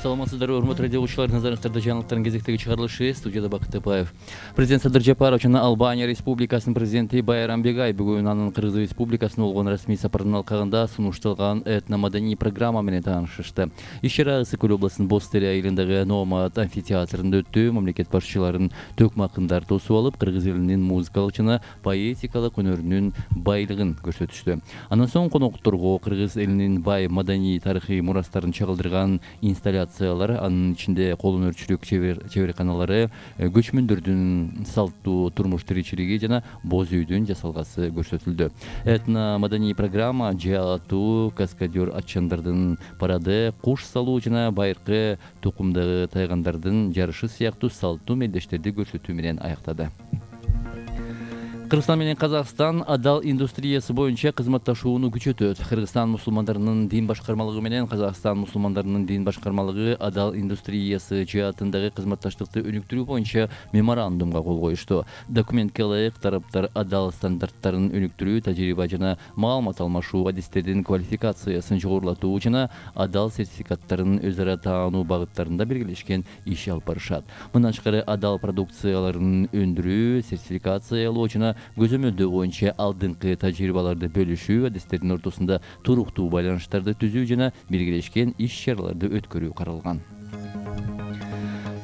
Саламатсыздарбы, урматтуу радио угуучулар, назарыңыздарда жаңылыктардын кезектеги чыгарылышы. Студияда Бакыт Тапаев. Президент Садыр Жапаров жана Албания Республикасынын президенти Байрам Бегай бүгүн анын Кыргыз Республикасына болгон расмий сапарынын алкагында сунушталган этномаданий программа менен таанышышты. Иш-чара Ысык Көл областынын Боз Тере айылындагы Номад амфитеатрында өттү. Мамлекет башчыларын төкмө акындар тосуп алып, кыргыз элинин музыкалык жана поэтикалык өнөрүнүн байлыгын көрсөтүштү. Андан соң конокторго кыргыз элинин бай маданий тарыхый мурастарын чагылдырган инсталляциялар, анын ичинде кол өнөрчүлүк чеберканалары, көчмөндөрдүн салттуу турмуш тиричилиги жана боз үйдүн жасалгасы көрсөтүлдү. Этно-маданий программа жаа атуу, каскадер атчандардын парады, куш салуу жана байыркы тукумдагы тайгандардын жарышы сыяктуу салттуу мелдештерди көрсөтүү менен аяктады. Кыргызстан менен Казакстан адал индустриясы боюнча кызматташууну күчөтөт. Кыргызстан мусулмандарынын дин башкармалыгы менен Казакстан мусулмандарынын дин башкармалыгы адал индустриясы жаатындагы кызматташтыкты өнүктүрүү боюнча меморандумга кол коюшту. Документке ылайык тараптар адал стандарттарын өнүктүрүү, тажрыйба жана маалымат алмашуу, адистердин квалификациясын жогорулатуу жана адал сертификаттарын өз ара таануу багыттарында белгилешкен иш алып барышат. Мындан тышкары адал продукцияларын өндүрүү, сертификациялоо жана көзөмөлдөө боюнча алдыңкы тажрыйбаларды бөлүшүү, адистердин ортосунда туруктуу байланыштарды түзүү жана белгилешкен иш-чараларды өткөрүү каралган.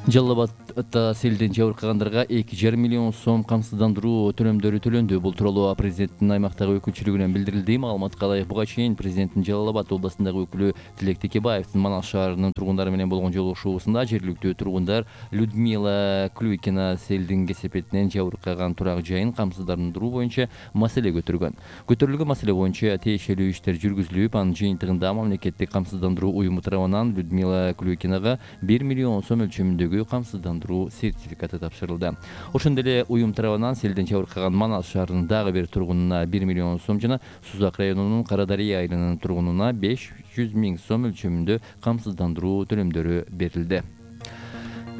Жалал Абадта селден жабыркагандарга 2,5 миллион сом камсыздандыруу төлөмдөрү төлөндү. Бул тууралуу президенттин аймактагы өкүлчүлүгүнөн билдирилди. Маалыматка ылайык, буга чейин президенттин Жалал Абад областындагы өкүлү Тилек Текебаевдин Манас шаарынын тургундары менен болгон жолугушуусунда жергиликтүү тургундар Людмила Клюйкина селдин кесепетинен жабыркаган турак жайын камсыздандыруу боюнча маселе көтөргөн. Көтөрүлгөн маселе боюнча тиешелүү иштер жүргүзүлүп, анын жыйынтыгында мамлекеттик камсыздандыруу уюму тарабынан Людмила Клюйкинага 1 миллион сом өлчөмүндөгү камсыздандыруу сертификаты тапшырылды. Ошондой эле уюм тарабынан селден жабыркаган Манас шаарынын дагы бир тургунуна 1 миллион сом жана Сузак районунун Карадария айылынын тургунуна 500 000 сом өлчөмүндө камсыздандыруу төлөмдөрү берилди.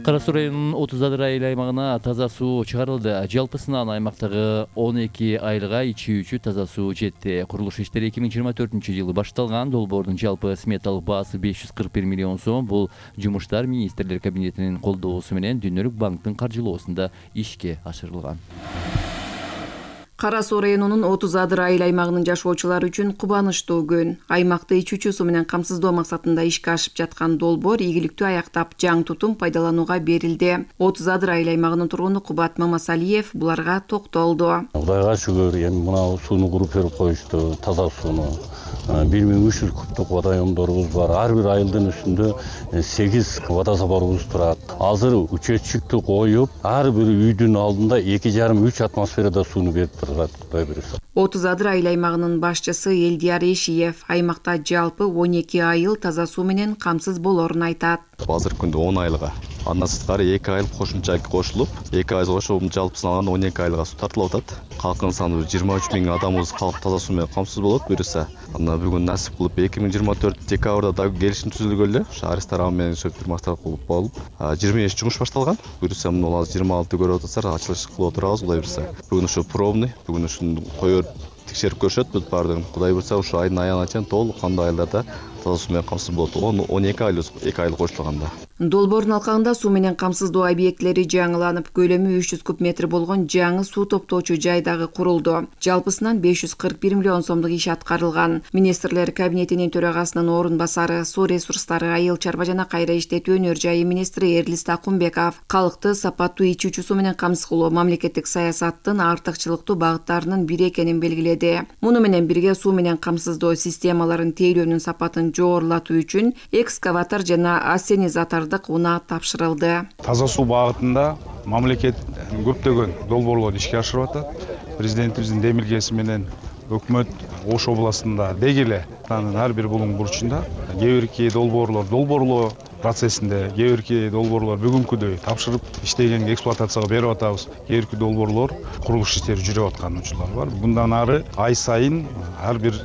Кара Суу районунун 30 Адыр айыл аймагына таза суу чыгарылды. Жалпысынан аймактагы 12 айылга ичүүчү таза суу жетти. Курулуш иштери 2024-жылы башталган. Долбоордун жалпы сметалык баасы 541 миллион сом. Бул жумуштар министрлер кабинетинин колдоосу менен Дүниөлүк банктын каржылоосунда ишке ашырылган. Кара Суу районунун 30 Адыр айыл аймагынын жашоочулары үчүн кубанычтуу күн. Аймакты ичүүчү суу менен камсыздоо максатында ишке ашып жаткан долбоор ийгиликтүү аяктап, жаңы тутум пайдаланууга берилди. 30 Адыр айыл аймагынын тургуну Кубат Мамасалиев буларга токтолду. Кудайга шүгүр, эми мына сууну куруп берип коюшту, таза сууну. 1300 кубтук водоемдорубуз бар. Ар бир айылдын үстүндө 8 водозаборубуз турат. Азыр учетчикти коюп, ар бир үйдүн алдында 2,5-3 атмосферада сууну берип турат, Кудай буюрса. 30 Адыр айыл аймагынын башчысы Элдияр Эшиев аймакта жалпы 12 айыл таза суу менен камсыз болорун айтат. Азыркы күндө 10 айылга, андан сырткары 2 айыл кошумча кошулуп, 2 айыл кошулуп жалпысын алганда 12 айылга суу тартылып атат. Калкынын саны 23 000 адамыбыз калк таза суу менен камсыз болот буюрса. Анда бүгүн насип кылып 2024 декабрда да келишим түзүлгөн эле. Шаарис тарабы менен фирмасы болуп, 25 жумуш башталган. Буюрса мына азыр 26 көрүп атасыздар, ачылыш кылып отурабыз, Кудай буюрса. Бүгүн ушу пробный, бүгүн ушуну коёр текшерип көрүшөт бүт баардыгын. Кудай буюрса ушу айдын аягына чейин толук кандуу айылдарда таза суу менен камсыз болот. 12 айыл кошулганда. Долбоордун алкагында суу менен камсыздоо объектлери жаңыланып, көлөмү 300 куб метр болгон жаңы суу топтоочу жай дагы курулду. Жалпысынан 541 миллион сомдук иш аткарылган. Министрлер кабинетинин төрагасынын орун басары, суу ресурстары, айыл чарба жана кайра иштетүү өнөр жайы министри Эрлис Такумбеков калкты сапаттуу ичүүчү суу менен камсыз кылуу мамлекеттик саясаттын артыкчылыктуу багыттарынын бири экенин белгиледи. Муну менен бирге суу менен камсыздоо системаларын тейлөөнүн сапатын жогорулатуу үчүн экскаватор жана ассенизатордук унаа тапшырылды. Таза суу багытында мамлекет көптөгөн долбоорлорду ишке ашырып атат. Президентибиздин демилгеси менен өкмөт Ош областында деги эле анын ар бир булуң бурчунда кээ бирки долбоорлоо процессинде, кээ бирки долбоорлор бүгүнкүдөй тапшырып иштегенге эксплуатацияга берип атабыз. Кээ бирки долбоорлор курулуш иштери жүрүп аткан учурлар бар. Bundan ары ай сайын ар бир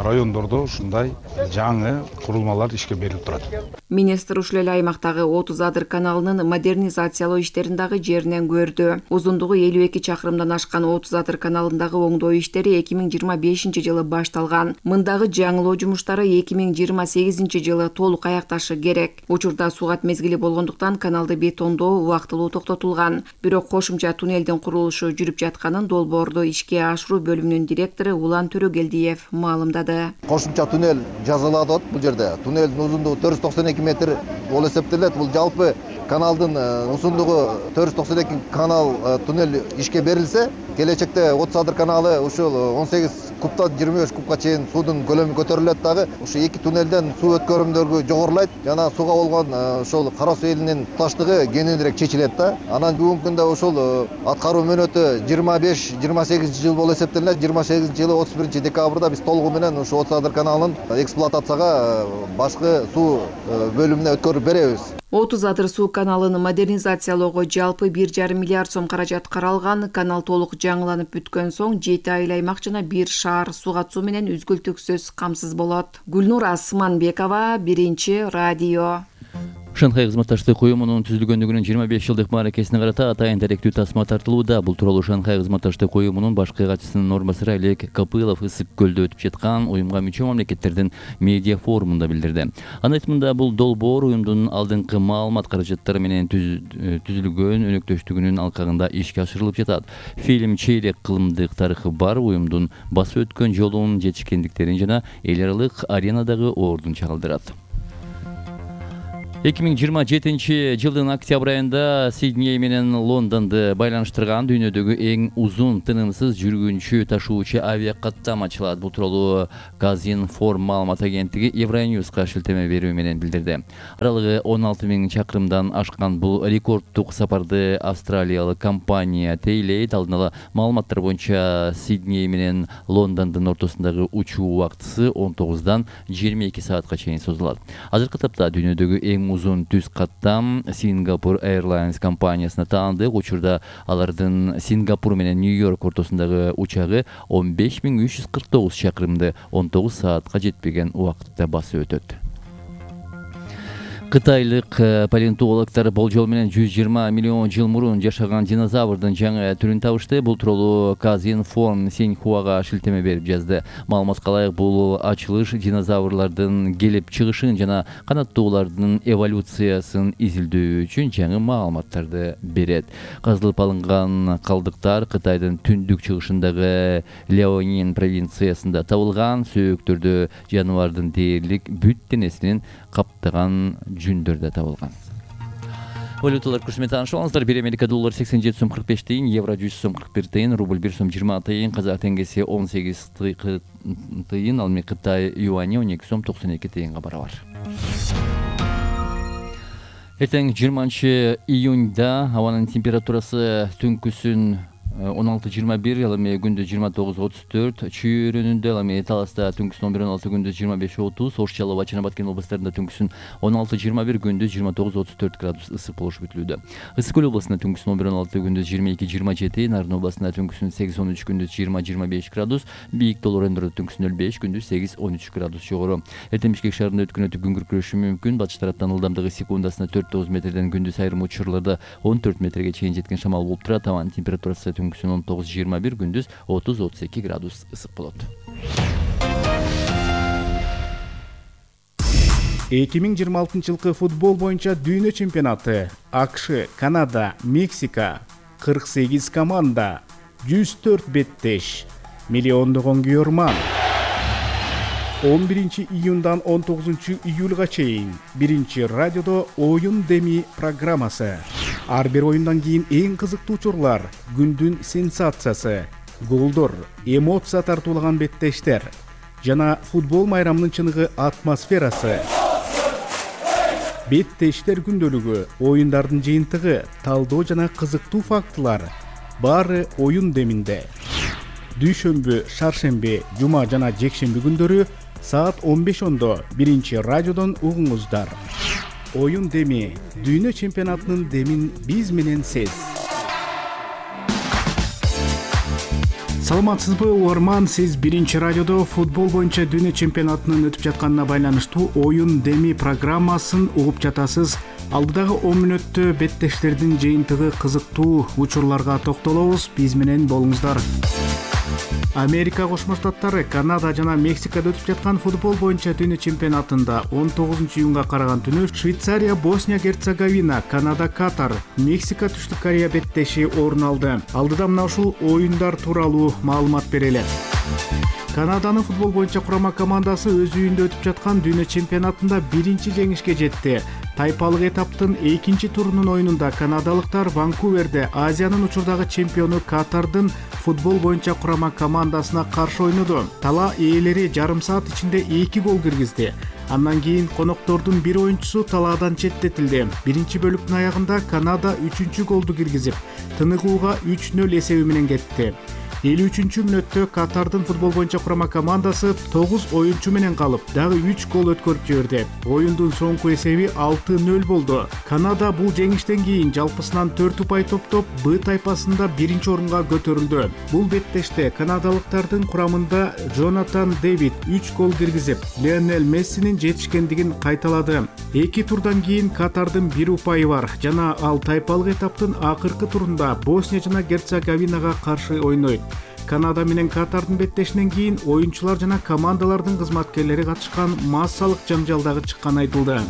райондордо ушундай жаңы курулмалар ишке берилип турат. Министр ушул эле аймактагы 30 Адыр каналынын модернизациялоо иштерин дагы жеринен көрдү. Узундугу 52 чакырымдан ашкан 30 Адыр каналындагы оңдоо иштери 2025 жылы башталган. Мындагы жаңылоо жумуштары 2028 жылы толук аякташы керек. Учурда сугат мезгили болгондуктан каналды бетондоо убактылуу токтотулган. Бирок кошумча туннелдин курулушу жүрүп жатканын долбоорду ишке ашыруу бөлүмүнүн директору Улан Төрөгелдиев маалымдады. Кошумча туннель жазылат атат бул жерде. Туннелдин узундугу 492 метр болуп эсептелет. Бул жалпы каналдын узундугу 492 канал туннель ишке берилсе, келечекте 30 Адыр каналы ушул 18 куптан 25 кубка чейин суудун көлөмү көтөрүлөт дагы. Ушу эки туннелден суу өткөрүмдөргө жогорулайт. Жана сууга болгон ошол Кара суу элинин туташтыгы кененирээк чечилет да. Анан бүгүнкү күндө ушул аткаруу мөөнөтү 25-28 жыл болуп эсептелет. 28 жылы 31 декабрда биз толугу менен ушу 30 Адыр каналын эксплуатацияга башкы суу бөлүмүнө өткөрүп беребиз. 30 Адыр суу каналын модернизациялоого жалпы 1,5 миллиард сом каражат каралган. Канал толук жаңыланып бүткөн соң 7 айыл аймак жана 1 шаар суга суу менен үзгүлтүксүз камсыз болот. Гүлнур Асманбекова, Биринчи радио. Шанхай кызматташтык уюмунун түзүлгөндүгүнүн 25 жылдык мааракесине карата атайын даректүү тасма тартылууда. Бул тууралуу Шанхай кызматташтык уюмунун башкы катчысынын орун басары Олег Копылов Ысык көлдө өтүп жаткан уюмга мүчө мамлекеттердин медиа форумунда билдирди. Анын айтымында бул долбоор уюмдун алдыңкы маалымат каражаттары менен түзүлгөн өнөктөштүгүнүн алкагында ишке ашырылып жатат. Фильм чейлек кылымдык тарыхы бар уюмдун басып өткөн жолунун жетишкендиктерин жана эл аралык аренадагы ордун чагылдырат. 2027 жылдын октябрь айында Сидней менен Лондонду байланыштырган дүйнөдөгү эң узун тынымсыз жүргүнчү ташуучу авиакаттам ачылат. Бул тууралуу Казинформ маалымат агенттиги Евроньюска шилтеме берүү менен билдирди. Аралыгы 16 000 чакырымдан ашкан бул рекорддук сапарды австралиялык компания тейлейт. Алдын ала маалыматтар боюнча Сидней менен Лондондун ортосундагы учуу убактысы 19 22 саатка чейин созулат. Азыркы тапта дүйнөдөгү эң узун түз каттам Singapore Airlines компаниясына таандык. Учурда алардын Сингапур менен Нью-Йорк ортосундагы учагы 15349 чакырымды 19 саатка жетпеген убакытта басып өтөт. Кытайлык палеонтологдор болжол менен 120 миллион жыл мурун жашаган динозаврдын жаңы түрүн табышты. Бул тууралуу Казинформ Синьхуага шилтеме берип жазды. Маалыматка ылайык, бул ачылыш динозаврлардын келип чыгышын жана канаттуулардын эволюциясын изилдөө үчүн жаңы маалыматтарды берет. Казылып алынган калдыктар Кытайдын түндүк чыгышындагы Леонин провинциясында табылган. Сөөктөрдө жаныбардын дээрлик бүт денесинин каптаган жүндөрдө табылган. Валюталар курсу менен таанышып алыңыздар. 1 Америка доллары 87 сом 45 тыйын, евро 100 сом 41 тыйын, рубль 1 сом 20 тыйын, казак теңгеси 18 тыйын, ал эми Кытай юани 12 сом 92 тыйынга барабар. Эртең 20 июнда абанын температурасы түнкүсүн 16-21, ал эми күндүз 29-34, чүйрөнүндө, ал эми Таласта түнкүсүн 11-16, күндүз 25-30, Ош, Жалал, Чана Баткен областарында түнкүсүн 16-21, күндүз 29-34 градус ысык болушу күтүлүүдө. Ысык көл областында түнкүсүн 11-16, күндүз 22-27, Нарын областында түнкүсүн 8-13, күндүз 20-25 градус, Бийик Тол райондордо түнкүсүн 05, күндүз 8-13 градус жогору. Эртең Бишкек шаарында өткөн өтүп күн күркүрөшү мүмкүн. Батыш тараптан ылдамдыгы секундасына 4-9 метрден, күндүз айрым учурларда 14 метрге чейин жеткен шамал болуп турат. Абанын температурасы түнкүсүн 19-21, күндүз 30-32 градус ысык болот. 2026 жылкы футбол боюнча дүйнө чемпионаты. АКШ, Канада, Мексика, 48 команда, 104 беттеш, миллиондогон күйөрман. 11 июндан 19 июлга чейин Биринчи радиодо оюн деми программасы. Ар бир оюндан кийин эң кызыктуу учурлар, күндүн сенсациясы, голдор, эмоция тартуулаган беттештер жана футбол майрамынын чыныгы атмосферасы. Беттештер күндөлүгү, оюндардын жыйынтыгы, талдоо жана кызыктуу фактылар баары оюн деминде. Дүйшөмбү, шаршемби, жума жана жекшемби күндөрү саат 15:00 Биринчи радиодон угуңуздар. Оюн деми, дүйнө чемпионатынын демин биз менен сез. Саламатсызбы угарман, сиз биринчи радиодо футбол боюнча дүйнө чемпионатынын өтүп жатканына байланыштуу оюн деми программасын угуп жатасыз. Алдыдагы 10 мүнөттө беттештердин жыйынтыгы кызыктуу учурларга токтолобуз. Биз менен болуңуздар. Америка Кошмо Штаттары, Канада жана Мексикада өтүп жаткан футбол боюнча дүйнө чемпионатында 19-июнга караган түнү Швейцария, Босния Герцеговина, Канада, Катар, Мексика, Түштүк Корея беттеши орун алды. Алдыда мына ушул оюндар тууралуу маалымат берели. Канаданын футбол боюнча курама командасы өз үйүндө өтүп жаткан дүйнө чемпионатында биринчи жеңишке жетти. Тайпалык этаптын 2-чи турунун оюнунда канадалыктар Ванкуверде Азиянын учурдагы чемпиону Катардын футбол боюнча курама командасына каршы ойноду. Тала ээлери жарым саат ичинде 2 гол киргизди. Андан кийин коноктордун бир оюнчусу талаадан четтетилди. Биринчи бөлүктүн аягында Канада 3-чү голду киргизип, тыныгууга 3-0 эсеби менен кетти. 53-чү мүнөттө Катардын футбол боюнча курама командасы 9 оюнчу менен калып, дагы 3 гол өткөрүп жиберди. Оюндун соңку эсеби 6-0 болду. Канада бул жеңиштен кийин жалпысынан 4 упай топтоп, Б тайпасында биринчи орунга көтөрүлдү. Бул беттеште канадалыктардын курамында Джонатан Дэвид 3 гол киргизип, Лионель Мессинин жетишкендигин кайталады. 2 турдан кийин Катардын 1 упайы бар жана ал тайпалык этаптын акыркы турунда Босния жана Герцеговинага каршы ойнойт. Канада менен Катардын беттешинен кийин оюнчулар жана командалардын кызматкерлери катышкан массалык жаңжал дагы чыкканы айтылды.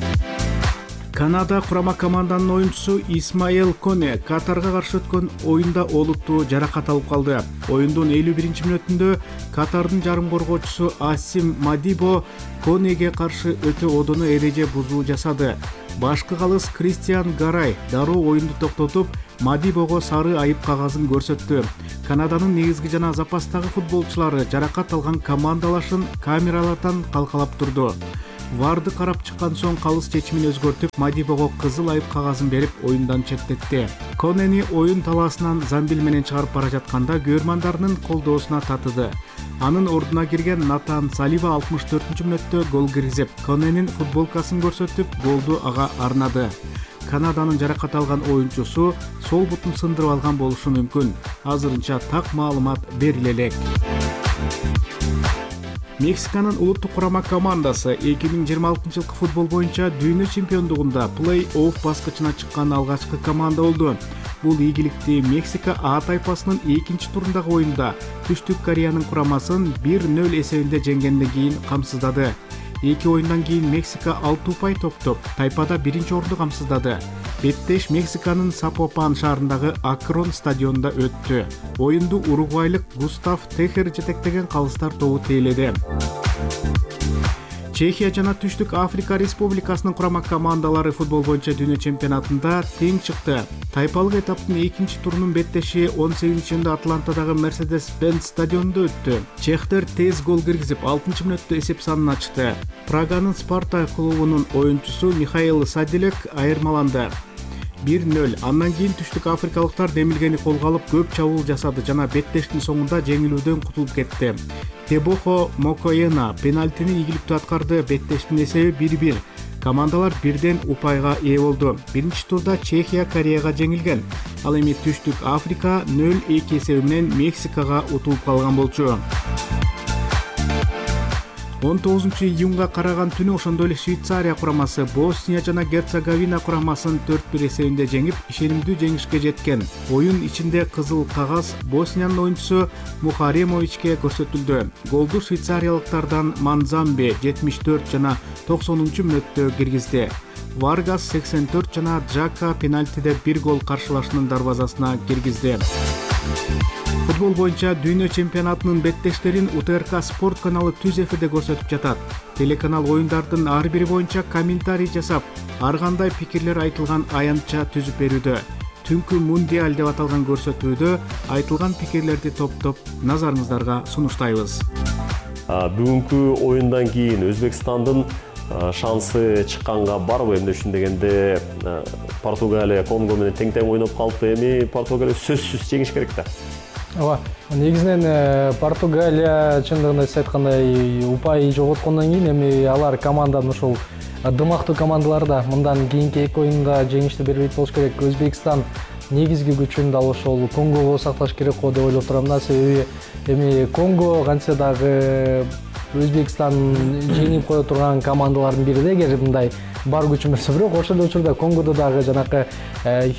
Канада курама команданын оюнчусу Исмаэл Коне Катарга каршы өткөн оюнда олуттуу жаракат алып калды. Оюндун 51-чи мүнөтүндө Катардын жарым коргоочусу Асим Мадибо Конеге каршы өтө одоно эреже бузуу жасады. Башкы калыс Кристиан Гарай дароо оюнду токтотуп, Мадибого сары айып кагазын көрсөттү. Канаданын негизги жана запастагы футболчулары жаракат алган командалашын камералардан калкалап турду. Варды карап чыккан соң калыс чечимин өзгөртүп, Мадибого кызыл айып кагазын берип, оюндан четтетти. Конени оюн талаасынан замбил менен чыгарып бара жатканда көрмандарынын колдоосуна татыды. Анын ордуна кирген Натан Салива 64-чү мүнөттө гол киргизип, Коненин футболкасын көрсөтүп, голду ага арнады. Канаданын жаракат алган оюнчусу сол бутун сындырып алган болушу мүмкүн. Азырынча так маалымат бериле элек. Мексиканын улуттук курама командасы 2026 жылкы футбол боюнча дүйнө чемпиондугунда плей-офф баскычына чыккан алгачкы команда болду. Бул ийгиликти Мексика А тайпасынын 2-чи турундагы оюнда Түштүк Кореянын курамасын 1-0 эсебинде жеңгенден кийин камсыздады. 2 оюндан кийин Мексика 6 упай топтоп, тайпада биринчи орунду камсыздады. Беттеш Мексиканын Сапопан шаарындагы Акрон стадионунда өттү. Оюнду уругвайлык Густав Техер жетектеген калыстар тобу тейледи. Чехия жана Түштүк Африка Республикасынын курама командалары футбол боюнча дүйнө чемпионатында тең чыкты. Тайпалык этаптын 2-чи турунун беттеши 18-июнда Атлантадагы Mercedes-Benz стадионунда өттү. Чехтер тез гол киргизип, 6-чы мүнөттө эсеп санын ачты. Праганын Спартак клубунун оюнчусу Михаил Садилек айырмаланды. 1-0. Андан кийин түштүк африкалыктар демилгени колго алып көп чабуул жасады жана беттештин соңунда жеңилүүдөн кутулуп кетти. Тебохо Мокоена пенальтини ийгиликтүү аткарды. Беттештин эсеби 1-1. Командалар бирден упайга ээ болду. Биринчи турда Чехия Кореяга жеңилген. Ал эми Түштүк Африка 0-2 эсеби менен Мексикага утулуп калган болчу. 19-июнга караган түнү ошондой эле Швейцария курамасы Босния жана Герцеговина курамасын 4-1 эсебинде жеңип, ишенимдүү жеңишке жеткен. Оюн ичинде кызыл кагаз Босниянын оюнчусу Мухаремовичке көрсөтүлдү. Голду швейцариялыктардан Манзамбе 74 жана 90-чу мүнөттө киргизди. Варгас 84 жана Джака пенальтиде 1 гол каршылашынын дарбазасына киргизди. Футбол боюнча дүйнө чемпионатынын беттештерин УТРК спорт каналы түз эфирде көрсөтүп жатат. Телеканал оюндардын ар бири боюнча комментарий жасап, ар кандай пикирлер айтылган аянтча түзүп берүүдө. Түнкү мундиаль деп аталган көрсөтүүдө айтылган пикирлерди топтоп назарыңыздарга сунуштайбыз. Бүгүнкү оюндан кийин Өзбекстандын шансы чыкканга барбы? Эмне үчүн дегенде Португалия Конго менен тең-тең ойноп калыпты. Эми Португалия сөзсүз жеңиш керек да. Ооба, негизинен Португалия чындыгында сиз айткандай упай жоготкондон кийин эми алар команданын ушул дымактуу командалары да мындан кийинки эки оюнда жеңишти бербейт болуш керек. Өзбекстан негизги күчүн дал ошол Конгого сакташ керек го деп ойлоп турам да. Себеби эми Конго кантсе дагы Өзбекстан жеңип кое турган командалардын бири да, эгер мындай бар күчү берсе. Бирок ошол эле учурда Конгодо дагы жанакы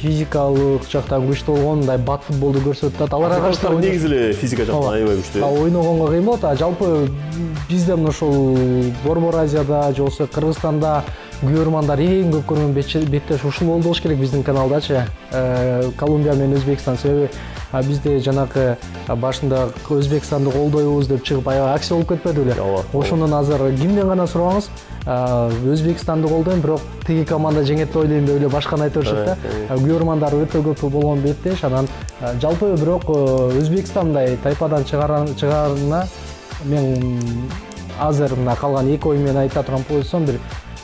физикалык жактан күчтүү болгон, мындай бат футболду көрсөтүп атат. Аларга каршы негизи эле физика жактан аябай күчтүү. Ойногонго кыйын болот. Жалпы бизде мына ошол Борбор Азияда же болбосо Кыргызстанда көрөрмандар эң көп көргөн беттеш ушул болду болуш керек биздин каналдачы. Колумбия менен Өзбекстан. Себеби бизде жанакы башында Өзбекстанды колдойбуз деп чыгып аябай акция болуп кетпеди беле? Ошондон азыр кимден гана сураңыз, Өзбекстанды колдойм, бирок тиги команда жеңет деп ойлойм деп эле башканы айта беришет да. Көрөрмандар өтө көп болгон беттеш. Анан жалпы бирок Өзбекстандай тайпадан чыгарына мен азыр мына калган 2 ой менен айта турган болсом, бир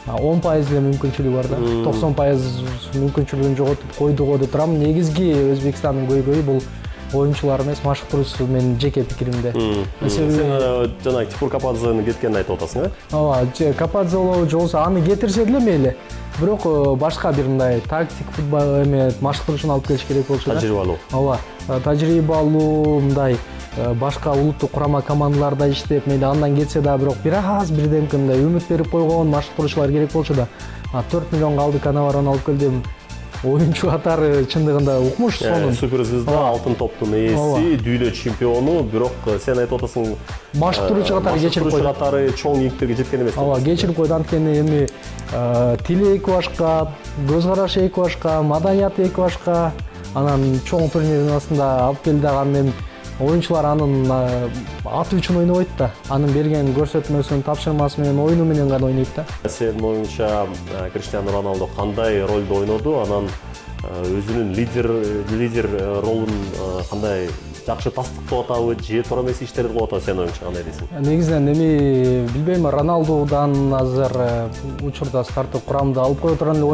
10% эле мүмкүнчүлүгү бар да. 90% мүмкүнчүлүгүн жоготуп койду го деп турам. Негизги Өзбекстандын көйгөйү бул оюнчулар эмес, машыктыруучу менин жеке пикиримде. Сен жана Типур Кападзени кеткенин айтып атасың, э? Ооба, Кападзе болобу же болбосо аны кетирсе деле мейли. Бирок башка бир мындай тактик футбол эме машыктыруучуну алып келиш керек болчу да. Тажрыйбалуу. Ооба, тажрыйбалуу мындай башка улуттук курама командаларда иштеп, мейли андан кетсе да, бирок бир аз бирдемке мындай үмүт берип койгон машыктыруучулар керек болчу да. 4 миллионго алды Канаварону алып келдим. Оюнчу катары чындыгында укмуш сонун. Суперзвезда, алтын топтун ээси, дүйнө чемпиону, бирок сен айтып атасың, машыктыруучу катары кечирип койду. Катары чоң ийгиликтерге жеткен эмес. Ооба, кечирип койду. Анткени эми тили эки башка, көз карашы эки башка, маданияты эки башка. Анан чоң турнирдин астында алып келди дагы, анан оюнчулар анын аты үчүн ойнобойт да. Анын берген көрсөтмөсүн, тапшырмасы менен, оюну менен гана ойнойт да. Сенин оюңча Криштиану Роналдо кандай ролду ойноду? Анан өзүнүн лидер ролун кандай жакшы тастыктап атабы, же туура эмес иштерди кылып атабы, сенин оюңча кандай дейсиң? Негизинен эми билбейм, Роналдудан азыр учурда старттык курамда алып кое турган эле